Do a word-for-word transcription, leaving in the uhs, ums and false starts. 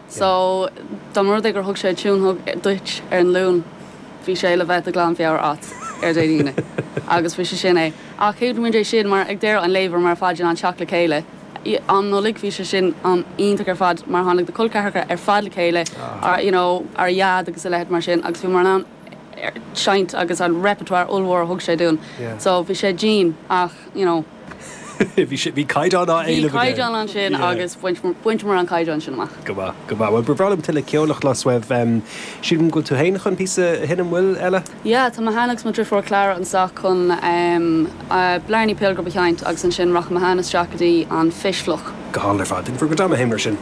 So dá mba rud é gur thug sé tune duit ar an Luan bhí sé le bheith de ghlanmheabhair as ar Dé hAoine. agus bhí sé sin é. Ach chéad é sin mar ag deireadh an lae mar ar fad an teach le chéile. An Nollaig bhí sé sin an iontach ar fad mar tháinig na col ceathracha ar fad le chéile ar you know, ar dhaid agus a leithéid mar sin agus bhí mar an seinnt agus an repertoire ollmhór thug sé dúinn. Yeah. So bhí sé dian ach you know, Bhí bhí caighdeán á Bhí caighdeán ansin agus bhain an caighdeán sin amach. Go maith go maith. Well bhrálam tuile ceolach lasweibh sílim go tú féin chun píosa a sheinm bhfuil eile? Ja, tá mé féin agus mo dheirfiúr Clara anseo chun um, uh, Blarney Pilgrim a sheinnt agus ansin rachaidh mé isteach go dtí an Fish Fliuch. Go hálainn ar fad, go dama héimar sin.